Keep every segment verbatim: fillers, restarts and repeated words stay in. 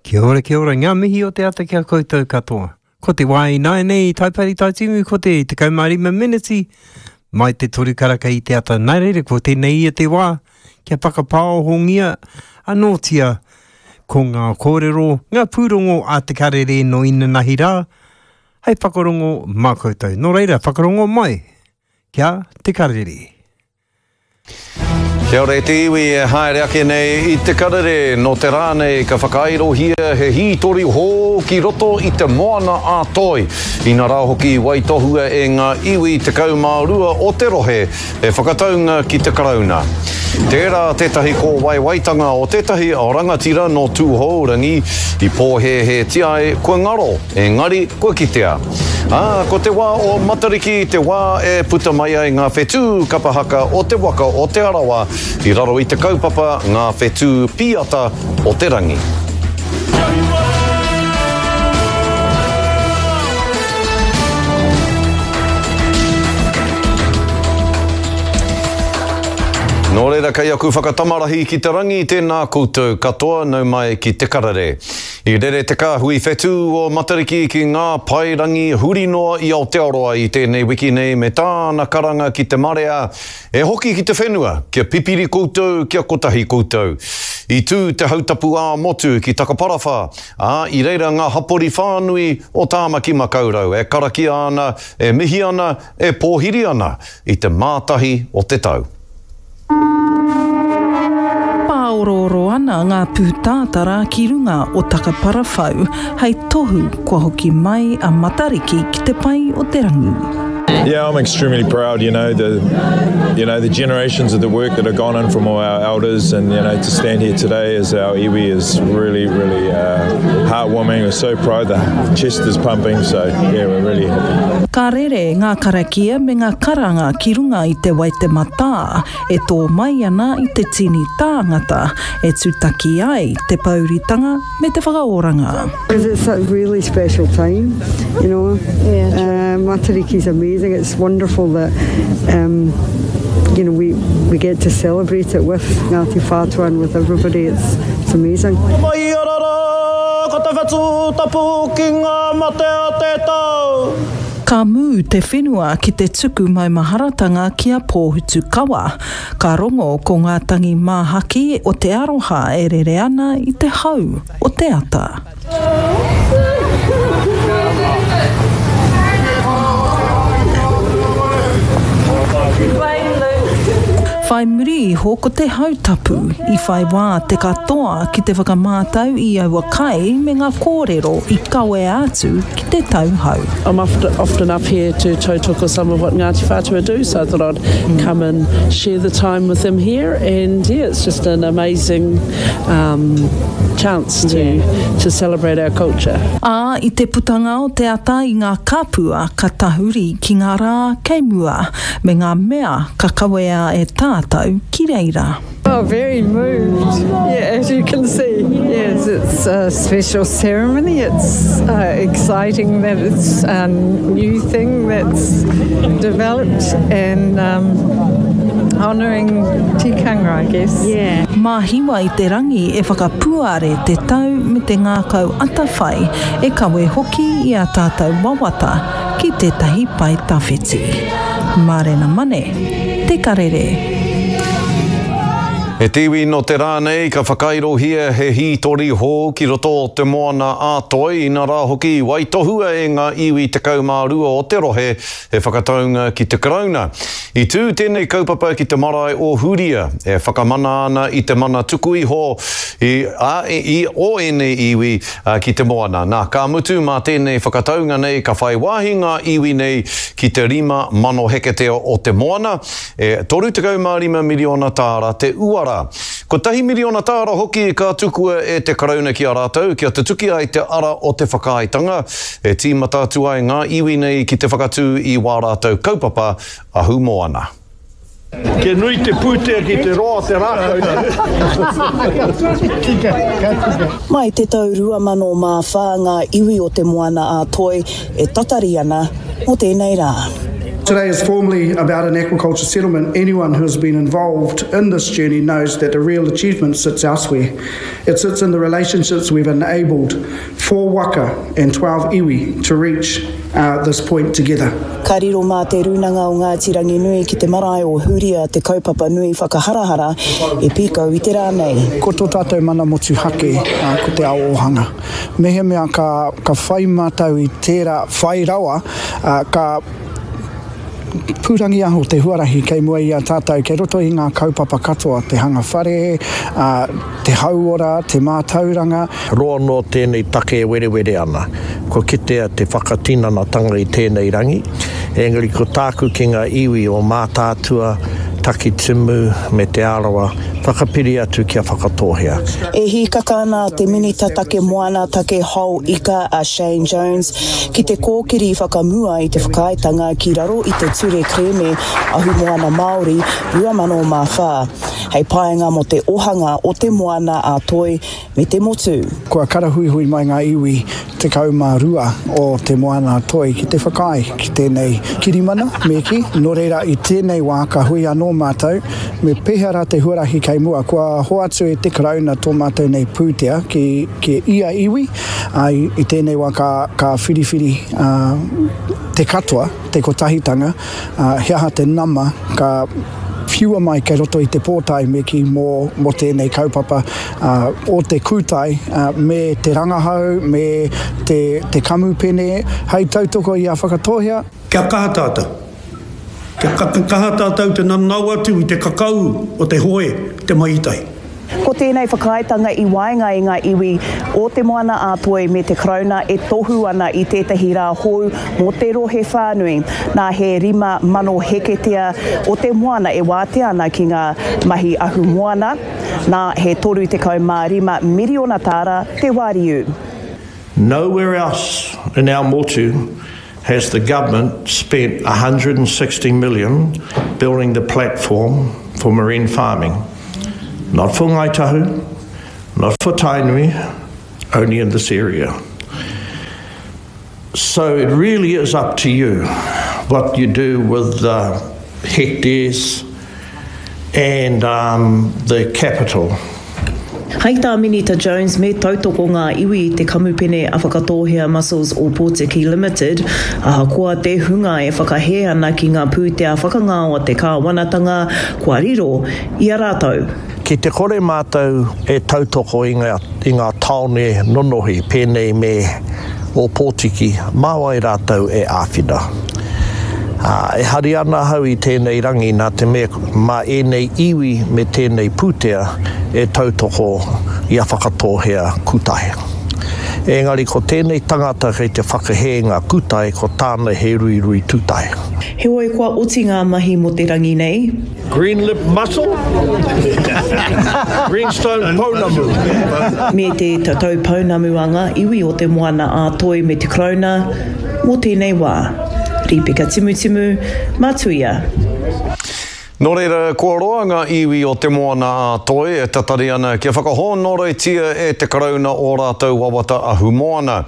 Kia ora, kia ora, ngā mihi o te ata ki a koutou katoa. Ko te wā ināianei i Taipari Taitimu, ko te tekau mā rima meneti mai te toru karaka i te ata. Nā reira, ko tēnei ia te wā kia whakapāohongia anōtia ko ngā kōrero, ngā pūrongo a Te Karere nō inanahi rā, hei whakarongo mā koutou. Nō reira, whakarongo mai kia Te Karere. Kia ora e te iwi e haere ake nei i Te Karere, nō te rā nei ka whakairohia he hītori hou ki roto i te Moana a Toi. Ina rā hoki i waitohua e ngā iwi tekau mā rua o te rohe he whakataunga ki te Karauna. Tērā tētahi kōwaiwaitanga o tētahi rangatira nō Tūhourangi i pōhēhētia ai kua ngaro, engari kua kitea. Ā, ko te wā o Matariki te wā e puta mai ai ngā whetū kapa haka o te waka o Te Arawa i raro i te kaupapa Ngā Whetū Pīata o te Rangi. Nō reira, kei aku whakatamarahi ki te rangi, tēnā koutou katoa, nau mai ki Te Karere. I rere te kāhui whetū o Matariki ki ngā paerangi huri noa i Aotearoa i tēnei wiki nei me tāna karanga ki te marea, E hoki ki te whenua, kia pipiri koutou, kia kotahi koutou. I tū te hautapu ā-motu ki Takaparawhā, ā, i reira ngā hapori whānui o Tāmaki Makaurau e karakia ana, e mihi ana, e pōhiri ana i te mātahi o te tau. Pāorooro ana ngā pūtātara ki runga o Takaparawhau hei tohu kua hoki mai a Matariki ki te pae o te rangi. Yeah, I'm extremely proud, you know, the you know, the generations of the work that have gone in from all our elders and, you know, to stand here today as our iwi is really, really uh, heartwarming. We're so proud, the chest is pumping, so yeah, we're really happy. Ka rere ngā karakia me ngā karanga ki runga i te Waitematā e tō mai ana i te tini tāngata e tūtaki ai te pouritanga me te whakaoranga. Because it's a really special time, you know. Yeah, uh, Matariki is amazing. It's wonderful that um, you know, we, we get to celebrate it with Ngāti Whātua and with everybody. It's, it's amazing. Mai arara, ko te whetū tapu ki ngā mate o te tau. Ka mū te whenua ki te tuku maumaharatanga ki a Pōhutukawa. Ka rongo ko ngā tangi māhaki o te aroha e rere ana i te hau o te ata. Whai muri iho ko te hautapu, i whai wā te katoa ki te whakamātau i aua kai me ngā kōrero i kawea atu ki te tauhou. I'm often up here to tautoko some of what Ngāti Whātua do, so I thought I'd come and share the time with them here, and yeah, it's just an amazing um, chance to, to celebrate our culture. Ā, i te putanga o te ata i ngā kapua ka tahuri ki ngā rā kei mua, me ngā mea ka kawea e tātou ki reira. Oh, very moved, yeah, as you can see. Yes, it's a special ceremony. It's uh, exciting that it's a new thing that's developed and um, honouring tikanga, I guess. Yeah. Mā Hiwa i te rangi e whakapuare te tau me te ngākau atawhai e kawe hoki i ā tātou wawata ki tētahi pae tawhiti. Mārena Mane, Te Karere. He tīwi nō te rā nei ka whakairohia he hītori hou ki roto o Te Moana a Toi, ina rā hoki i waitohua e ngā iwi tekau mā rua o te rohe he whakataunga ki te Karauna. I tū tēnei kaupapa ki te marae o Huria, e whakamana ana i te mana tuku iho i, a, i, o ēnei iwi ki te moana. Nā, ka mutu mā tēnei whakataunga nei ka whai wāhi ngā iwi nei ki te rima mano heketea o te moana, e toru tekau mā rima miriona tāra te uara. Kotahi miriona tāra hoki ka tukua e te Karauna ki a rātou kia tutuki ai te ara o te whakaaetanga, e tīmata atu ai ngā iwi nei ki te whakatū i wā rātou kaupapa ahumoana. Kia nui te pūtea ki te roa o te rākau nei. Tika, ka tika. Mai te tau rua mano mā whā ngā iwi o Te Moana-a-Toi e tatari ana mō tēnei rā. Today is formally about an aquaculture settlement. Anyone who has been involved in this journey knows that the real achievement sits elsewhere. It sits in the relationships we've enabled four waka and twelve iwi to reach uh, this point together. Ka riro mā te Rūnanga o Ngāti Ranginui ki te marae o Huria te kaupapa nui whakaharahara e pīkau i te rā nei. Ko tō tātou mana motuhake, uh, ko te ao ōhanga. Mehemea ka, ka whai mātou i tērā whai rawa, uh, ka pūrangiaho te huarahi kei mua i a tātou, kei roto i ngā kaupapa katoa, te hanga whare, uh, te hauora, te mātauranga. Roa noa tēnei take e werewere ana. Kua kitea te whakatinanatanga i tēnei rangi, engari ko tāku ki ngā iwi o Mātaatua, Takitimu me Te Arawa, whakapiri atu kia Whakatōhea. E hīkaka ana te Minita Take Moana Take Hao Ika a Shane Jones ki te kōkiri whakamua i te whakaaetanga ki raro i te Ture Kerēme Ahumoana Māori rua mano mā whā, hei painga mō te ohanga o te moana a Toi me te motu. Kua karahuihui mai ngā iwi tekau mā rua o te moana a Toi ki te whakaae ki tēnei kirimana, me kī. Nō reira i tēnei wā ka hui anō mātou, me pēhea rā te huarahi kei mua. Kua hoatu e te Karauna tō mātou nei pūtea ki, ki ia iwi, ā, i, i tēnei wā ka, ka whiriwhiri ā, te katoa, te kotahitanga, ā, he aha te nama ka whiua mai kei roto i te pōtae me kī mō, mō tēnei kaupapa ā, o te kūtai ā, me te rangahau, me te, te kamupene, hei tautoko i a Whakatōhea. Kia kaha tātou. Kia kaha tātou te nanao atu i te kakau o te hoe, te mahitai. Ko tēnei whakaaetanga i waenga i ngā iwi o Te Moana-a-Toi me te Karauna e tohu ana i tētahi rā hou mō te rohe whānui. Nā he rima mano heketea o te moana e wātea ana ki ngā mahi ahumoana, nā he toru tekau mā rima miriona tāra te wāriu. Nowhere else in our motu has the government spent a hundred and sixty million building the platform for marine farming. Not for Ngāi Tahu, not for Tainui, only in this area. So it really is up to you what you do with the hectares and, um, the capital. Hei tā Minita Jones me tautoko ngā iwi i te kamupene a Whakatōhea Mussels Ōpōtiki Limited, ahakoa te hunga e whakahē ana ki ngā pūtea whakangao a te kāwanatanga kua riro i a rātou. Ki te kore mātou e tautoko i ngā, i ngā tāone nonohi pēnei me Ōpōtiki, mā wai rātou e āwhina. Ā, e hari ana ahau i tēnei rangi nā te mea mā ēnei iwi me tēnei pūtea e tautoko i a Whakatōhea Kūtae. Engari ko tēnei tangata kei te whakahē ngā kūtae, ko tāna he ruirui tūtae. Heoi kua oti ngā mahi mō te rangi nei. Green lip mussel, greenstone pounamu. Me te tatau pounamu a ngā iwi o Te Moana-a-Toi me te Karauna mō tēnei wā. Rīpeka Timutimu, Matuia. Nō reira, kua roa ngā iwi o Te Moana-a-Toi e tatari ana kia whakahōnoretia e te Karauna o rātou wawata ahumoana.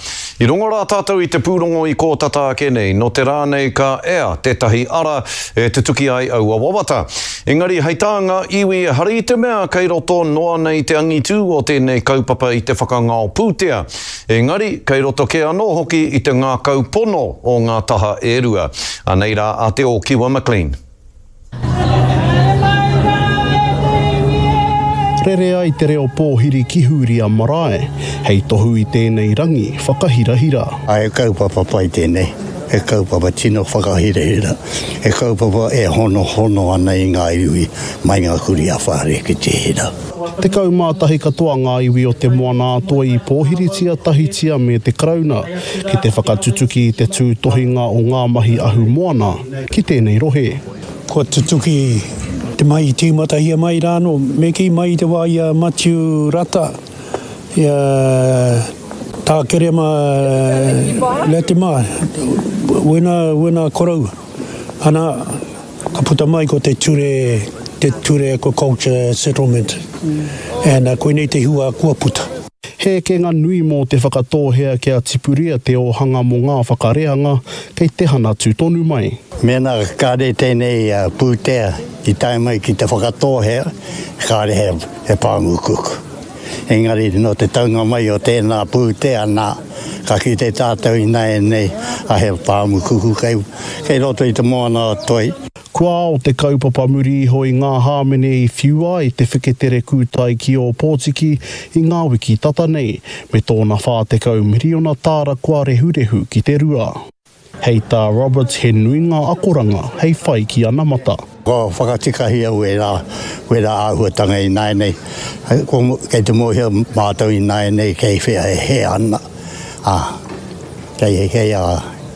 I rongo rā tātou i te pūrongo i kōtata ake nei, nō te rā nei ka ea tētahi ara e tutuki ai aua wawata. Engari hei tā ngā iwi ehara i te mea kei roto noa nei te angitū o tēnei kaupapa i te whakangao pūtea. Engari, kei roto kē anō hoki i te ngākau pono o ngā taha e rua. Anei rā a Te Ōkiwa McLean. Rere ai te reo pōhiri ki Hūria Marae, hei tohu i tēnei rangi whakahirahira. He kaupapa pai tēnei, he kaupapa tino whakahirahira, he kaupapa e honohono ana i ngā iwi mai ngā kuri a whare ki te hira. Tekau mā tahi katoa ngā iwi o Te Moana-a-Toi i pōhiritia tahitia me te Karauna ki te whakatutuki i te tūtohinga o ngā mahi ahumoana ki tēnei rohe. Kua tutuki te mai i tīmatahia mai rānō, me kī mai i te wā i a Matiu Rata, i a Tā Kerema Latimer, wena, wena koroua. Ana, ka puta mai ko te ture, te ture aquaculture settlement. And uh, koinei te hua kua puta. He ekenga nui mō Te Whakatōhea kia tipuria te ōhanga mō ngā whakareanga kei te hanatu tonu mai. Mēnā kāre tēnei pūtea i tae mai ki Te Whakatōhea, kāre he, he pāmu kuku. Engari nō te taunga mai o tēnā pūtea nā, ka kite tātou ināianei a he pāmu kuku kei, kei roto i te moana o Toi. Kua ao te kaupapa muri iho i ngā hāmene i whiua ai te wheketere kūtai ki Ōpōtiki i ngā wiki tata nei, me tōna whā tekau miriona tāra kua rehurehu ki te rua. Hei tā Roberts he nui ngā akoranga hei whai ki anamata. Kua whakatikahia wērā, wērā āhuatanga ināianei. Kei te mōhio mātou ināianei kei whea e hē ana, ā, kei, kei a,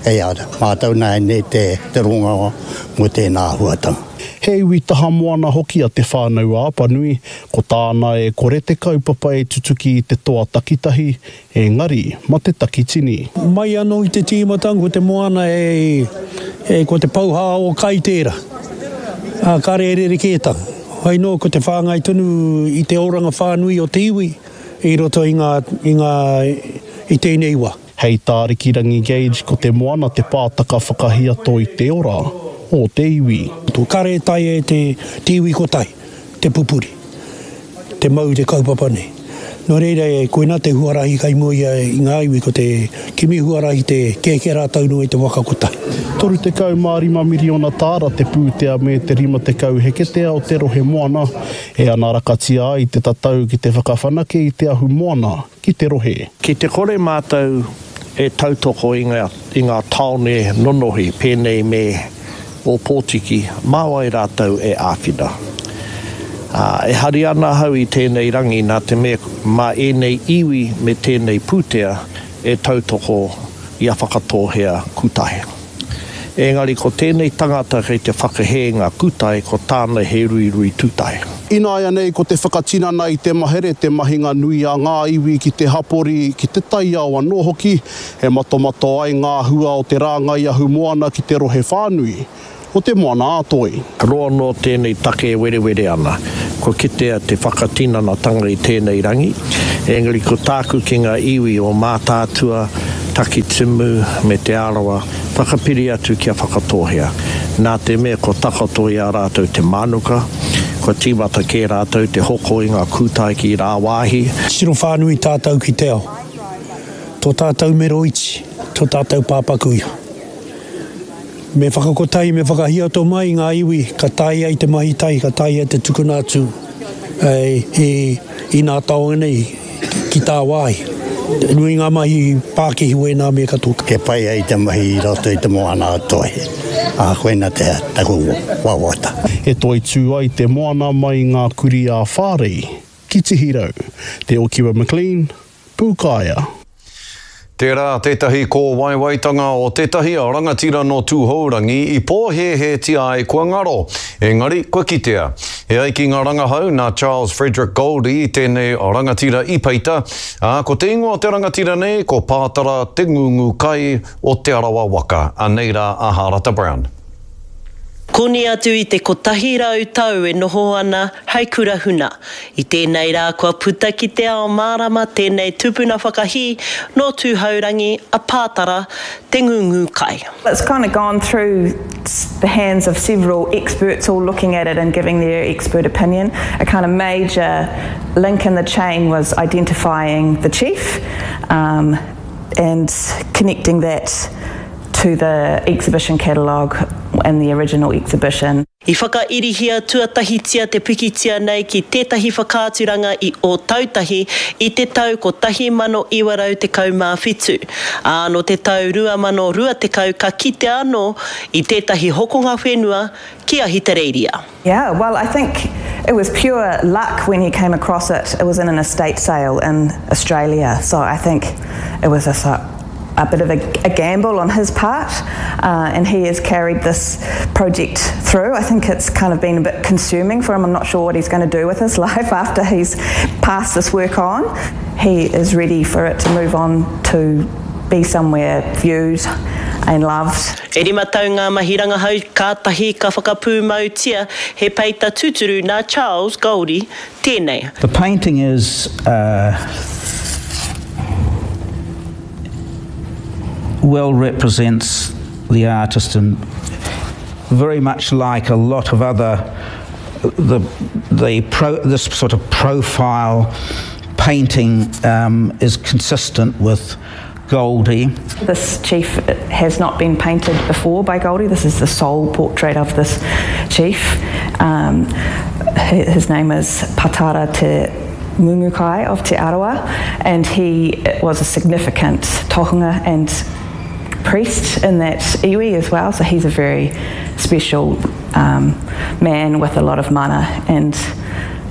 kei a mātou nāianei te, te rongoa mō tēnā āhuatanga. He iwi taha moana hoki a Te Whānau-a-Apanui, ko tāna e kore te kaupapa e tutuki i te toa takitahi, engari ma te takitini. Mai anō i te tīmatanga ko te moana e, e ko te pouhā o kai tērā, ā, kāre e rerekētanga. Hoi nō ko te whāngai tonu i te oranga whānui o te iwi i roto i ngā, i ngā, i tēnei wā. Hei tā Rikirangi Gage ko te moana te pātaka whakahiato i te ora o te iwi. Kare taea e te iwi kotahi te pupuri, te mau te kaupapa nei. Nō reira, koinā te huarahi kai mua ia i ngā iwi ko te kimi huarahi te kēkē rātou noa i te waka kotahi. Toru tekau mā rima miriona tāra te pūtea me te rima tekau heketea o te rohe moana e anarakatia ai te tatau ki te whakawhanake i te ahu moana ki te rohe. Ki te kore mātou e tautoko i ngā, i ngā tāone nonohi pēnei me Ōpōtiki, mā wai rātou e āwhina? Ā, e hari ana ahau i tēnei rangi nā te mea mā ēnei iwi me tēnei pūtea e tautoko i a Whakatōhea Kūtahe. Engari ko tēnei tangata kei te whakahē ngā kūtae ko tāna he ruirui tūtae. Ināianei ko te whakatinana i te mahere te mahinga nui a ngā iwi ki te hapori, ki te taiao anō hoki, e matomato ai ngā hua o te rāngai ahumoana ki te rohe whānui o Te Moana-a-Toi. Roa noa tēnei take e werewere ana. Kua kitea te whakatinanatanga i tēnei rangi, engari ko tāku ki ngā iwi o Mātaatua, Takitimu me Te Arawa, whakapiri atu kia Whakatōhea. Nā te mea kua takoto i a rātou te mānuka, kua tīmata kē rātou te hoko i ngā kūtae ki rāwāhi. Tiro whānui tātou ki te ao. Tō tātou mero iti, tō tātou pāpaku iho. Me whakakotahi, me whakahiato mai ngā iwi ka taea i te mahi tahi, ka taea te tukuna atu i nā taonga nei ki tāwāhi. Nui ngā mahi pākihi wēnā me katoa. Kia pai ai te mahi i roto i te moana a Toi, ā, koina te taku wawata. E toitū ai te moana mai i ngā kurī ā-Whārei ki Tihirau. Te Okiwa McLean, Pūkaea. Tērā tētahi kōwaiwaitanga o tētahi rangatira nō Tūhourangi i pōhēhētia ai kua ngaro, engari kua kitea. E ai ki ngā rangahau nā Charles Frederick Goldie tēnei rangatira i peita, ā, ko te ingoa o te rangatira nei ko Pātara Te Ngungu Kai o Te Arawa Waka. Anei rā a Hārata Brown. Koni atu i te kotahi rau tau e noho ana hei kura huna. I tēnei rā kua puta ki te ao mārama tēnei tupuna whakahī nō Tūhourangi a Pātara Te Ngungu Kai. It's kind of gone through the hands of several experts all looking at it and giving their expert opinion. A kind of major link in the chain was identifying the chief um, and connecting that to the exhibition catalogue and the original exhibition. I whakairihia tuatahitia te pikitia nei ki tētahi whakaaturanga i Ōtautahi i te tau kotahi mano iwa rau tekau mā whitu. Ā, nō te tau rua mano rua tekau ka kitea anō i tētahi hokonga whenua ki Ahitereiria. Yeah, well I think it was pure luck when he came across it. It was in an estate sale in Australia, so I think it was just a, a bit of a, a gamble on his part, uh, and he has carried this project through. I think it's kind of been a bit consuming for him. I'm not sure what he's gonna do with his life after he's passed this work on. He is ready for it to move on to be somewhere viewed and loved. E rima tau ngā mahi rangahau kātahi ka whakapūmautia he peita tūturu nā Charles Goldie tēnei. The painting is, uh, well represents the artist and very much like a lot of other the the pro, this sort of profile painting um, is consistent with Goldie. This chief has not been painted before by Goldie. This is the sole portrait of this chief. Um, his name is Patara Te Mumukai of Te Arawa, and he was a significant tohunga and priest in that iwi as well, so he's a very special um, man with a lot of mana, and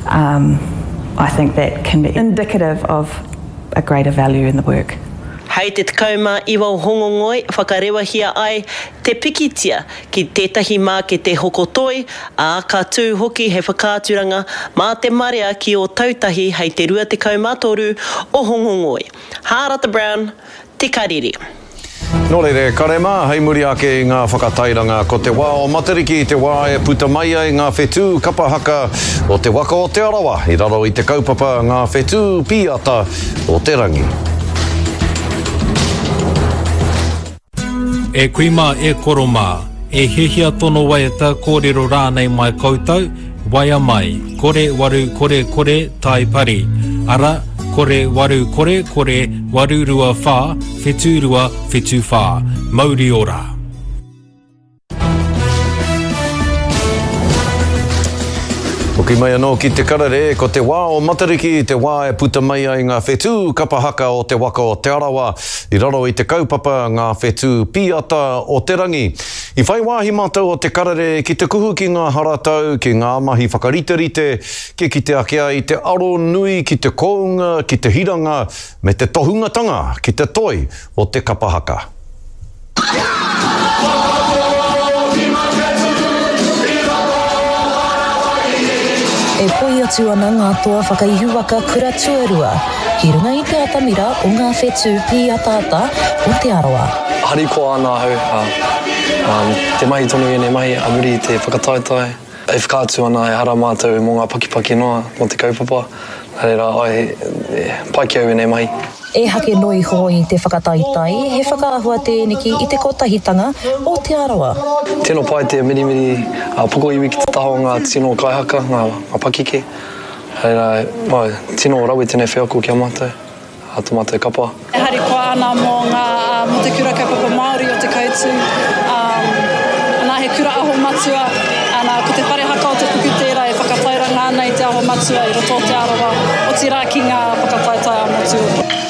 um, I think that can be indicative of a greater value in the work. Hei te tekau mā iwa o Hongongoi whakarewahia ai te pikitia ki tētahi mākete hoko toi, ā, ka tū hoki he whakaaturanga mā te marea ki Ōtautahi hei te rua tekau mā toru o Hongongoi. Hārata Brown, Te Karere. Nō reira, e kare mā, hei muri ake i ngā whakatairanga, ko te wā o Matariki te wā e puta mai ai ngā whetū kapa haka o te waka o Te Arawa i raro i te kaupapa Ngā Whetū Pīata o te Rangi. E kui mā, e koro mā, e hiahia tono waiata kōrero rānei mai koutou, waea mai, kore waru kore kore tai pari, ara, kore waru kore kore waru rua whā, whetū rua whetū whā. Mauri ora! Hoki mai anō ki te karere, ko te wā o Matariki te wā e puta mai ai ngā whetū kapa haka o te waka o Te Arawa i raro i te kaupapa Ngā Whetū Pīata o te Rangi. I whai wāhi mātou o te karere ki te kuhu ki ngā haratau, ki ngā mahi whakariterite, kia kite ake ai te aro nui ki te kounga, ki te hiranga, me te tohungatanga ki te toi o te kapa haka. E poi atu ana ngā toa whakaihuwaka kura tuarua ki runga i te atamira o ngā whetū pīataata o Te Arawa. Harikoa ana ahau, ā, ā, te mahi tonu ēnei mahi a muri i te whakataetae. E whakaatu ana ehara mātou mō ngā pakipaki noa mō te kaupapa, nā reira, āe, e, pai ki au ēnei mahi. Ehake noa iho i te whakataetae, he whakaahua tēneki i te kotahitanga o Te Arawa. Tino pai te mirimiri a pokoiwi ki te taha o ngā tino kaihaka, ngā, ngā pakeke. Reira, āe, tino rawe tēnei wheako ki a mātou, a tō mātou kapa. E harikoa ana mō ngā, mō te kura kaupapa Māori o Te Koutu, ana he kura aho matua, ana ko te whare haka o Te Puku tērā e whakatairanga ana i te aho matua i roto o Te Arawa, otirā ki ngā whakataetae ā-motu.